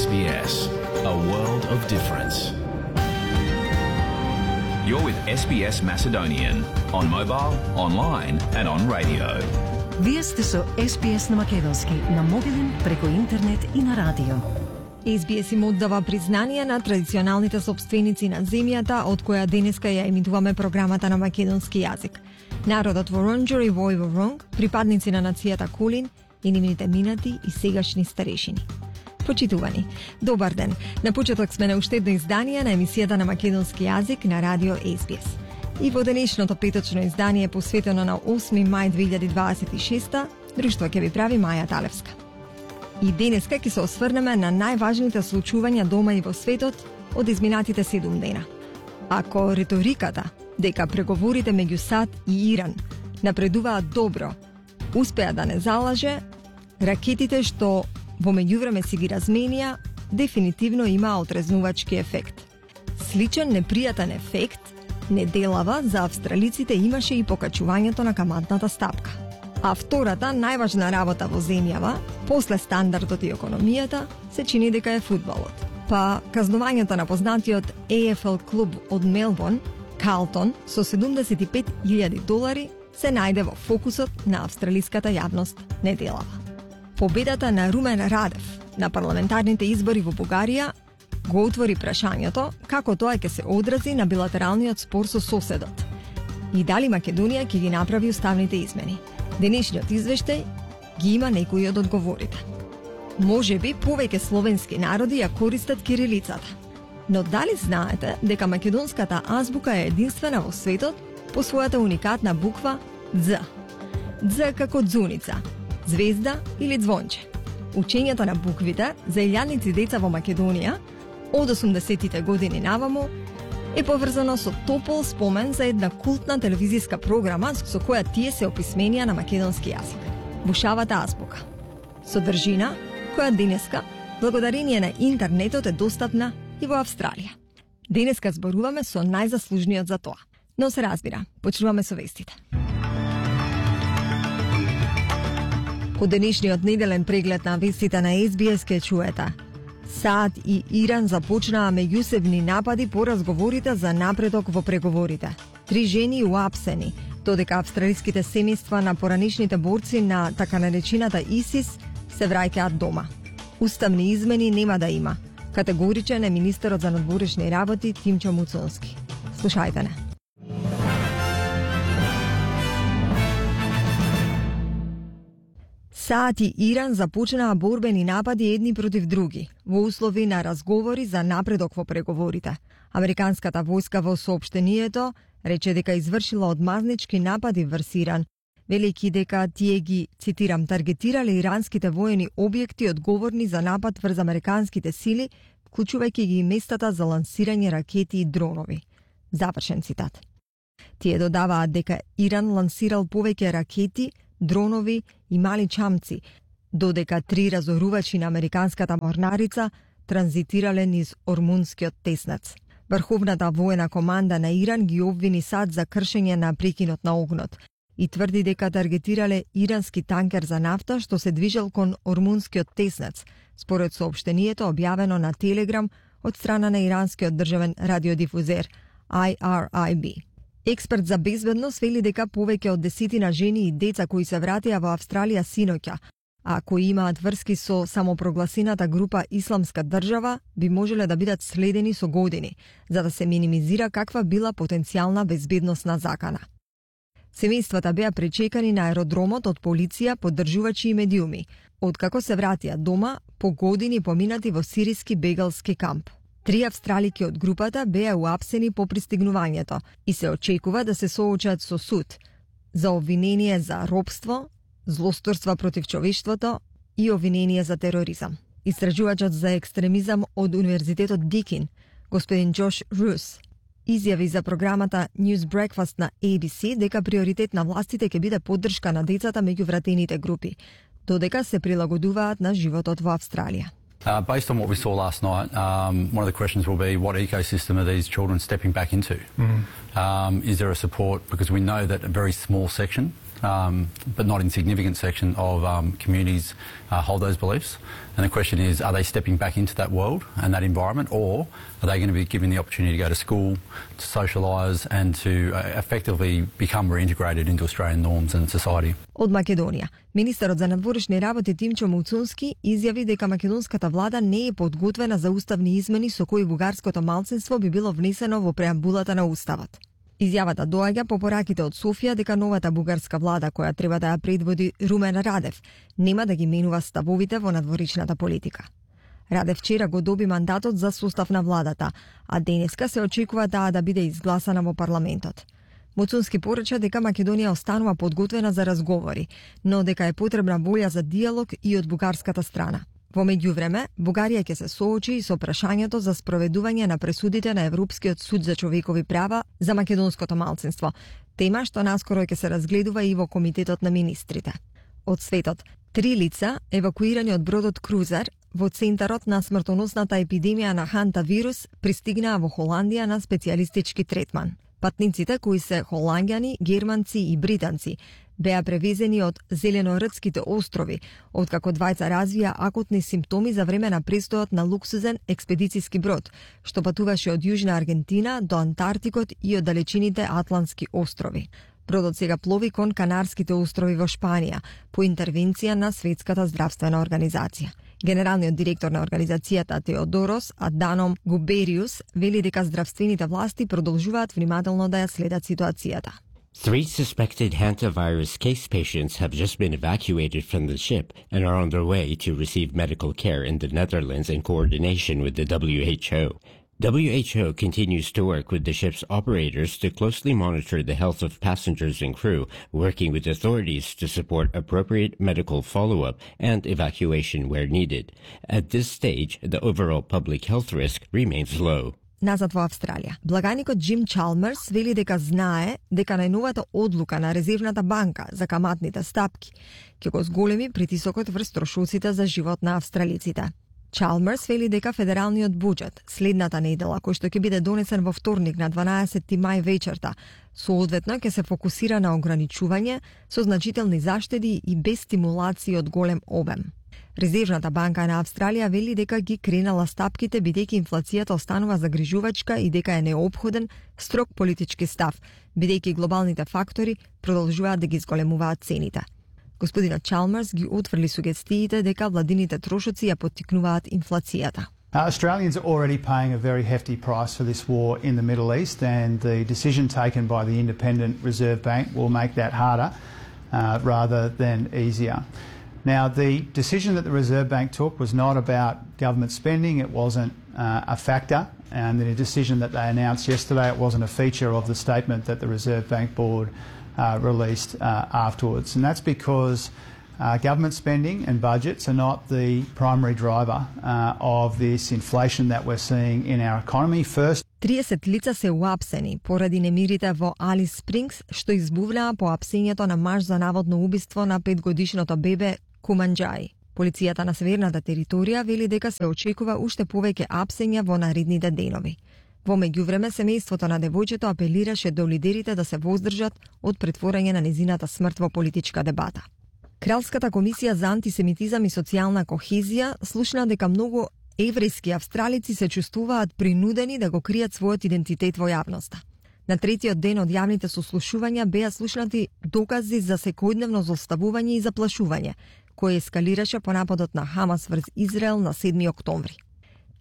SBS, a world of difference. You're with SBS Macedonian on mobile, online and on radio. Вие сте со SBS на македонски, на мобилен, преку интернет и на радио. SBS им оддава признание на традиционалните собственици на земјата, од која денеска ја емитуваме програмата на македонски јазик. Народот во Ронџор и Вој во Ронг, припадници на нацијата Кулин и нивните минати и сегашни старешини. Почитувани, добар ден. На почеток сме на уште едно издание на емисијата на македонски јазик на радио SBS. И во денешното петочно издание посветено на 8 мај 2026, друштво ќе ви прави Маја Талевска. И денеска ќе се осврнеме на најважните случувања дома и во светот од изминатите 7 дена. Ако риториката дека преговорите меѓу САД и Иран напредуваат добро, успеа да не залаже, ракетите што во меѓувреме си ги разменија, дефинитивно имаа отрезнувачки ефект. Сличен непријатен ефект неделава за австралиците имаше и покачувањето на каматната стапка. А втората најважна работа во земјава, после стандардот и економијата, се чини дека е фудбалот. Па казнувањето на познатиот AFL клуб од Мелбурн, Карлтон, со $75,000 се најде во фокусот на австралиската јавност неделава. Победата на Румен Радев на парламентарните избори во Бугарија го отвори прашањето како тоа ќе се одрази на билатералниот спор со соседот и дали Македонија ќе ги направи уставните измени. Денешниот извештај ги има некои од одговорите. Можеби повеќе словенски народи ја користат кирилицата, но дали знаете дека македонската азбука е единствена во светот по својата уникатна буква Дз? Дз како дзуница, звезда или звонче. Учењето на буквите за илјадници деца во Македонија од 80-тите години наваму е поврзано со топол спомен за една култна телевизиска програма со која тие се описменија на македонски јазик. Бушавата азбука. Содржина која денеска, благодарение на интернетот, е достапна и во Австралија. Денеска зборуваме со најзаслужниот за тоа. Но се разбира, почнуваме со вестите. По денешниот неделен преглед на вестите на SBS ке чуете: САД и Иран започнаа меѓусебни напади по разговорите за напредок во преговорите. 3 жени уапсени, додека австралиските семејства на поранишните борци на така наречената ИСИС се враќаат дома. Уставни измени нема да има, категоричен е министерот за надворешни работи Тимчо Муцонски. Слушајте не. САД и Иран започнаа борбени напади едни против други, во услови на разговори за напредок во преговорите. Американската војска во соопштението рече дека извршила одмазнички напади врз Иран, велики дека тие ги, цитирам, таргетирале иранските воени објекти одговорни за напад врз американските сили, вклучувајќи ги местата за лансирање ракети и дронови. Завршен цитат. Тие додаваат дека Иран лансирал повеќе ракети, дронови и мали чамци, додека 3 разорувачи на американската морнарица транзитирале низ Ормунскиот теснец. Врховната воена команда на Иран ги обвини САД за кршење на прекинот на огнот и тврди дека таргетирале ирански танкер за нафта што се движел кон Ормунскиот теснец, според соопштението објавено на Телеграм од страна на иранскиот државен радиодифузер IRIB. Експерт за безбедност вели дека повеќе од 10 жени и деца кои се вратија во Австралија синоќа, а кои имаат врски со самопрогласената група Исламска држава, би можеле да бидат следени со години, за да се минимизира каква била потенцијална безбедносна закана. Семејствата беа пречекани на аеродромот од полиција, поддржувачи и медиуми, откако се вратија дома по години поминати во сириски бегалски камп. 3 австралики од групата беа уапсени по пристигнувањето и се очекува да се соочат со суд за обвинение за робство, злосторства против човештвото и обвинение за тероризам. Истражувачот за екстремизам од Универзитетот Дикин, господин Джош Рус, изјави за програмата News Breakfast на ABC дека приоритет на властите ќе биде поддршка на децата меѓу вратените групи, додека се прилагодуваат на животот во Австралија. Based on what we saw last night, one of the questions will be what ecosystem are these children stepping back into? Is there a support? Because we know that a very small section but not insignificant section of communities hold those beliefs. And the question is, are they stepping back into that world and that environment, or are they going to be given the opportunity to go to school, to socialise and to effectively become reintegrated into Australian norms and society? Од Македонија, министерот за надворешни работи Тимчо Муцунски изјави дека македонската влада не е подготвена за уставни измени со кои бугарското малцинство би било внесено во преамбулата на уставот. Изјавата доаѓа по пораките од Софија дека новата бугарска влада, која треба да ја предводи Румен Радев, нема да ги менува ставовите во надворешната политика. Радев вчера го доби мандатот за состав на владата, а денеска се очекува таа да биде изгласана во парламентот. Муцунски порача дека Македонија останува подготвена за разговори, но дека е потребна волја за диалог и од бугарската страна. Во меѓувреме, Бугарија ќе се соочи и со прашањето за спроведување на пресудите на Европскиот суд за човекови права за македонското малцинство, тема што наскоро ќе се разгледува и во Комитетот на министрите. Од светот, 3 лица, евакуирани од бродот Крузер, во центарот на смртоносната епидемија на хантавирус, пристигнаа во Холандија на специјалистички третман. Патниците, кои се холанѓани, германци и британци, беа превезени од Зеленордските острови, откако двајца развија акутни симптоми за време на престојот на луксузен експедициски брод, што патуваше од Јужна Аргентина до Антарктикот и од далечините Атлантски острови. Бродот сега плови кон Канарските острови во Шпанија, по интервенција на Светската здравствена организација. Генералниот директор на организацијата Теодорос Аданом Губериус вели дека здравствените власти продолжуваат внимателно да ја следат ситуацијата. 3 suspected hantavirus case patients have just been evacuated from the ship and are on their way to receive medical care in the Netherlands in coordination with the WHO. WHO continues to work with the ship's operators to closely monitor the health of passengers and crew, working with authorities to support appropriate medical follow-up and evacuation where needed. At this stage, the overall public health risk remains low. Назад во Австралија, благаникот Джим Чалмерс вели дека знае дека најновата одлука на Резервната банка за каматните стапки ќе го зголеми притисокот врз трошоците за живот на австралиците. Чалмерс вели дека федералниот буџет следната недела, кој што ќе биде донесен во вторник на 12 мај вечерта, соодветно ќе се фокусира на ограничување со значителни заштеди и без стимулации од голем обем. Резервната банка на Австралија вели дека ги кренала стапките бидејќи инфлацијата останува загрижувачка и дека е неопходен строг политички став, бидејќи глобалните фактори продолжуваат да ги зголемуваат цените. Господинот Чалмерс ги отфрли сугестиите дека владините трошоци ја поттикнуваат инфлацијата. Australians are already paying a very hefty price for this war in the Middle East, and the decision taken by the Independent Reserve Bank will make that harder rather than easier. Now, the decision that the Reserve Bank took was not about government spending. It wasn't a factor. And the decision that they announced yesterday, it wasn't a feature of the statement that the Reserve Bank Board released afterwards. And that's because government spending and budgets are not the primary driver of this inflation that we're seeing in our economy. First, 30 лица се уапсени поради немирите во Алис Спрингс, што избувнаа по апсењето на марш за наводно убиство на 5-годишното бебе Куманџаи. Полицијата на северната територија вели дека се очекува уште повеќе апсења во наредните денови. Во меѓувреме, семејството на девојчето апелираше до лидерите да се воздржат од претворање на незината смрт во политичка дебата. Кралската комисија за антисемитизам и социјална кохезија слушна дека многу еврејски австралици се чувствуваат принудени да го кријат својот идентитет во јавноста. На третиот ден од јавните сослушувања беа слушнати докази за секојдневно злоставување и заплашување, кој ескалираше по нападот на Хамас врз Израел на 7 октомври.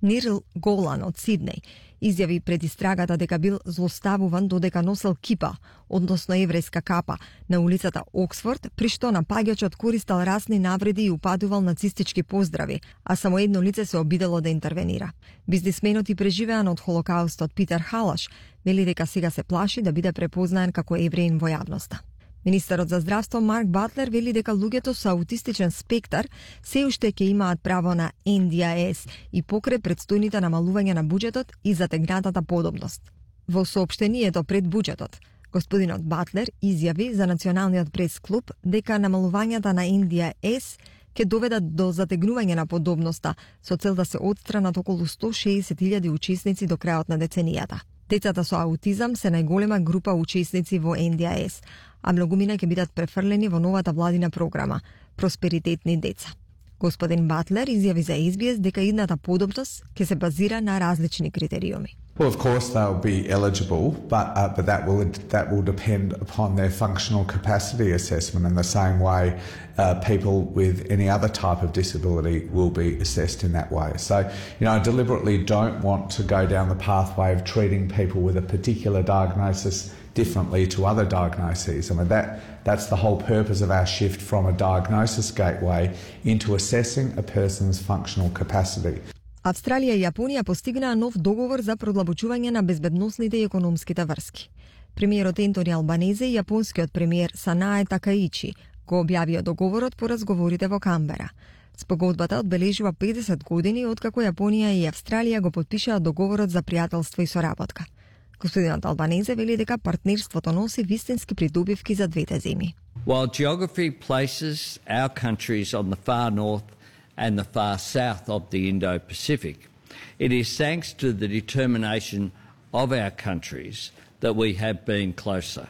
Нирл Голан од Сиднеј изјави пред истрагата дека бил злоставуван додека носел кипа, односно еврејска капа, на улицата Оксфорд, при што напаѓачот користел расни навреди и упатувал нацистички поздрави, а само едно лице се обидело да интервенира. Бизнисменот и преживеан од Холокаустот Питер Халаш вели дека сега се плаши да биде препознаен како евреин во јавноста. Министерот за здравство Марк Батлер вели дека луѓето со аутистичен спектар се уште ќе имаат право на NDIS и покрај предстојните намалување на буџетот и затегнатата подобност. Во соопштението пред буџетот, господинот Батлер изјави за Националниот прес-клуб дека намалувањата на NDIS ќе доведат до затегнување на подобноста со цел да се отстранат околу 160.000 учесници до крајот на деценијата. Децата со аутизам се најголема група учесници во НДИС, а многумина ќе бидат префрлени во новата владина програма Просперитетни деца. Господин Батлер изјави за SBS дека идната подобност ќе се базира на различни критериуми. Well, of course they'll be eligible, but that will depend upon their functional capacity assessment in the same way people with any other type of disability will be assessed in that way. So, I deliberately don't want to go down the pathway of treating people with a particular diagnosis differently to other diagnoses. I mean, that's the whole purpose of our shift from a diagnosis gateway into assessing a person's functional capacity. Австралија и Јапонија постигнаа нов договор за продлабочување на безбедносните и економските врски. Премиерот Ентони Албанезе и јапонскиот премиер Санае Такаичи го објавија договорот по разговорите во Камбера. Спогодбата одбележува 50 години откако Јапонија и Австралија го потпишаа договорот за пријателство и соработка. Господинот Албанезе вели дека партнерството носи вистински придобивки за двете земји. While geography places our countries on the far north and the far south of the Indo-Pacific, it is thanks to the determination of our countries that we have been closer.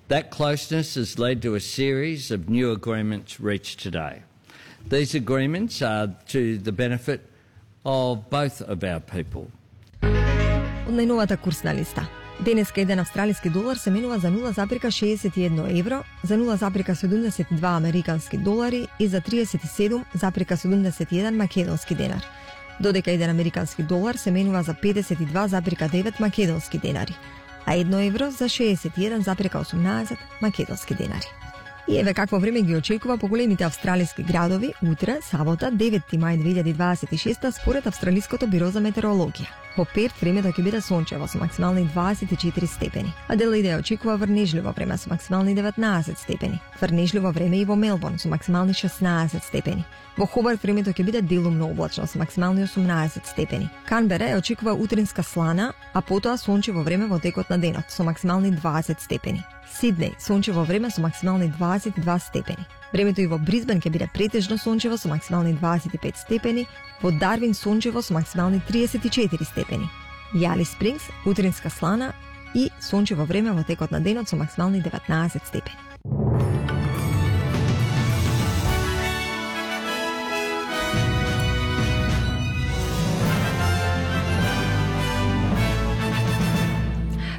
That closeness has led to a series of new agreements reached today. These agreements are to the benefit of both of our people. Од најновата курсна листа. Денеска еден австралиски долар се менува за 0,61 евро, за 0,72 американски долари и за 37,71 македонски денар. Додека еден американски долар се менува за 52,9 македонски денари, а 1 евро за 61,18 македонски денари. И еве какво време ги очекува по големите австралиски градови утре, сабота, 9 мај 2026 според Австралиското биро за метеорологија. Во Перт времето ќе биде сончево со максимални 24 степени. Аделаида очекува врнежливо време со максимални 19 степени. Врнежливо време и во Мелбурн со максимални 16 степени. Во Хобарт времето ќе биде делумно облачно со максимални 18 степени. Канбера очекува утринска слана, а потоа сончево време во текот на денот со максимални 20 степени. Сиднеј сончево време со максимални 22 степени. Времето и во Брисбен ќе биде претежно сончево со максимални 25 степени, во Дарвин сончево со максимални 34 степени. Јали Спрингс утринска слана и сончево време во текот на денот со максимални 19 степени.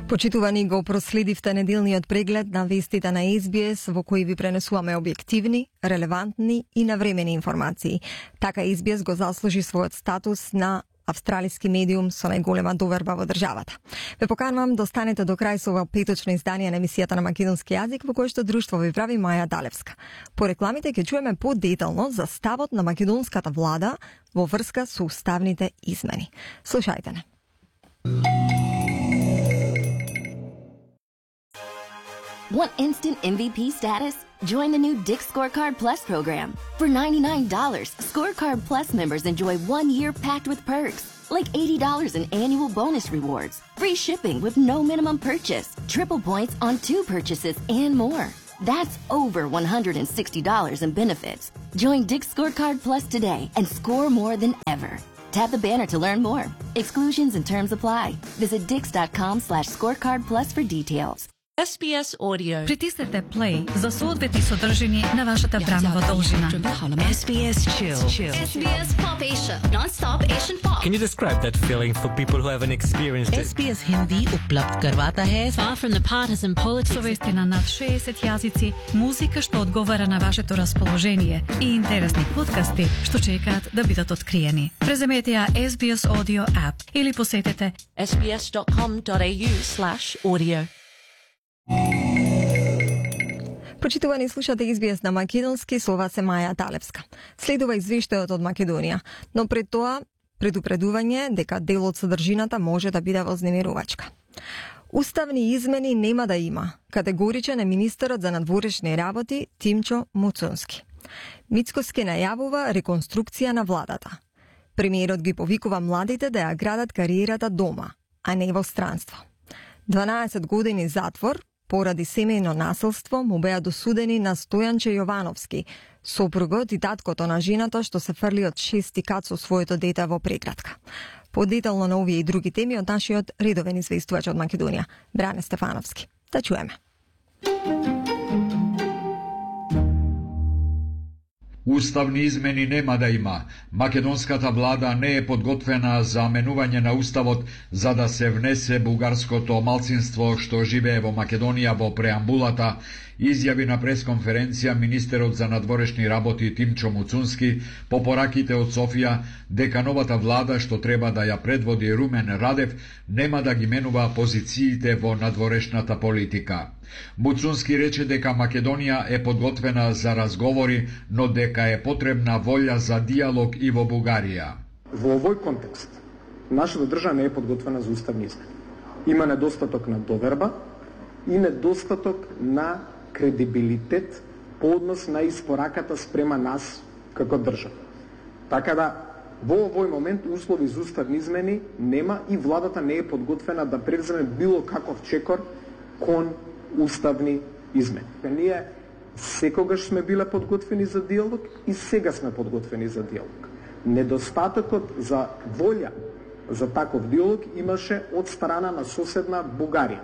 Почитувани, го проследивте неделниот преглед на вестите на SBS, во кои ви пренесуваме објективни, релевантни и навремени информации. Така SBS го заслужи својот статус на австралиски медиум со најголема доверба во државата. Ве поканувам да останете до крај со ова петочно издание на емисијата на македонски јазик, во кој што друштво ви прави Маја Далевска. По рекламите ќе чуеме подетално за ставот на македонската влада во врска со уставните измени. Слушајте не. Want instant MVP status? Join the new Dick Scorecard Plus program. For $99, Scorecard Plus members enjoy 1 year packed with perks, like $80 in annual bonus rewards, free shipping with no minimum purchase, triple points on 2 purchases, and more. That's over $160 in benefits. Join Dick Scorecard Plus today and score more than ever. Tap the banner to learn more. Exclusions and terms apply. Visit dix.com/scorecard plus for details. SBS Audio. Притиснете play за соодветни содржини на вашата времева должина. SBS Chill. SBS Pop Asia. Non-stop Asian pop. Can you describe that feeling for people who haven't experienced it? SBS Hindi उपलब्ध करवाता है far from the partisan politics. Совести на над 60 јазици, музика што одговара на вашето расположение и интересни подкасти што чекаат да бидат откриени. Преземете ја SBS Audio app или посетете sbs.com.au/audio. Почитувани, слушате SBS на македонски, со вас е Маја Далевска. Следува извештајот од Македонија, но пред тоа предупредување дека дел од содржината може да биде вознемирувачка. Уставни измени нема да има, категоричен е министерот за надворешни работи Тимчо Муцунски. Мицкоски најавува реконструкција на владата. Премиерот ги повикува младите да ја градат кариерата дома, а не во странство. 12 години затвор поради семејно насилство му беа досудени на Стојанче Јовановски, сопругот и таткото на жената што се фрли од 6 кат со своето дете во преградка. Подетално на овие и други теми од нашиот редовен известувач од Македонија, Бране Стефановски. Да чуеме. Уставни измени нема да има. Македонската влада не е подготвена за менување на уставот за да се внесе бугарското малцинство што живее во Македонија во преамбулата, изјави на пресконференција министерот за надворешни работи Тимчо Муцунски по пораките од Софија дека новата влада што треба да ја предводи Румен Радев нема да ги менува позициите во надворешната политика. Муцунски рече дека Македонија е подготвена за разговори, но дека е потребна волја за диалог и во Бугарија. Во овој контекст, нашата држава не е подготвена за уставни измени. Има недостаток на доверба и недостаток на кредибилитет по однос на испораката спрема нас како држава. Така да, во овој момент услови за уставни измени нема и владата не е подготвена да превземе било каков чекор кон уставни измени. Ние секогаш сме биле подготвени за диалог и сега сме подготвени за диалог. Недостатокот за волја за таков диалог имаше од страна на соседна Бугарија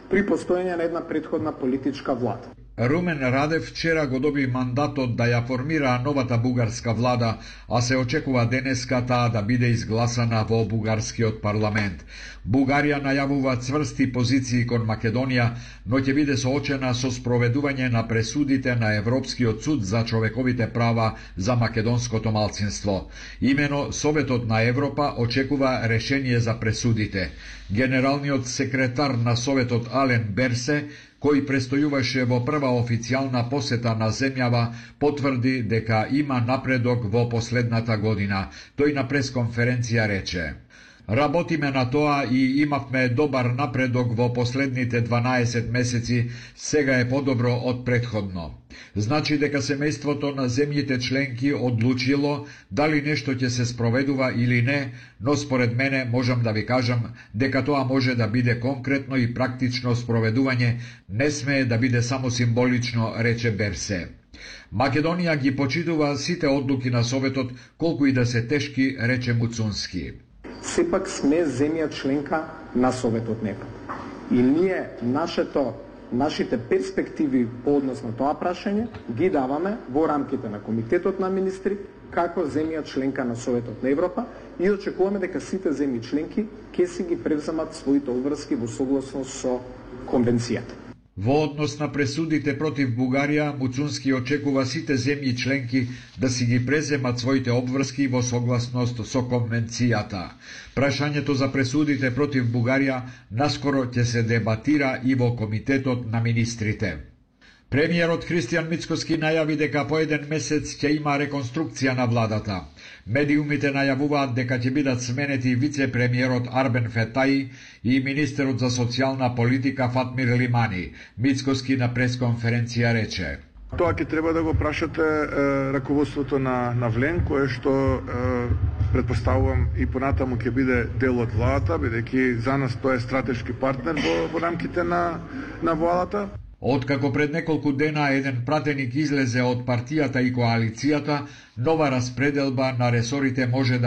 при постоење на една претходна политичка влада. Румен Радев вчера го доби мандатот да ја формира новата бугарска влада, а се очекува денеска таа да биде изгласана во бугарскиот парламент. Бугарија најавува цврсти позиции кон Македонија, но ќе биде соочена со спроведување на пресудите на Европскиот суд за човековите права за македонското малцинство. Имено Советот на Европа очекува решение за пресудите. Генералниот секретар на Советот Ален Берсе, кој престојуваше во прва официјална посета на земјава, потврди дека има напредок во последната година. Тој на пресконференција рече: "Работиме на тоа и имавме добар напредок во последните 12 месеци, сега е подобро од претходно." Значи дека семејството на земјите членки одлучило дали нешто ќе се спроведува или не, но според мене можам да ви кажам дека тоа може да биде конкретно и практично спроведување, не смее да биде само символично, рече Берсе. Македонија ги почитува сите одлуки на Советот, колку и да се тешки, рече Муцунски. Сепак сме земја членка на Советот на Европа. И ние нашите перспективи по однос на тоа прашање ги даваме во рамките на Комитетот на министри како земја членка на Советот на Европа и очекуваме дека сите земји членки ќе си ги превземат своите обврски во согласност со конвенцијата. Во однос на пресудите против Бугарија, Муцунски очекува сите земји членки да си ги преземат своите обврски во согласност со конвенцијата. Прашањето за пресудите против Бугарија наскоро ќе се дебатира и во Комитетот на министрите. Премиерот Христијан Мицкоски најави дека по еден месец ќе има реконструкција на владата. Медиумите најавуваат дека ќе бидат сменети вице-премиерот Арбен Фетаи и министерот за социјална политика Фатмир Лимани. Мицкоски на пресконференција рече: "Тоа ќе треба да го прашате раководството на ВЛЕН, кое што предпоставувам и понатаму ќе биде дел од владата, бидејќи за нас тоа е стратешки партнер во рамките на владата." Откако пред неколку дена еден пратеник излезе од партијата и коалицијата, нова распределба на ресорите може да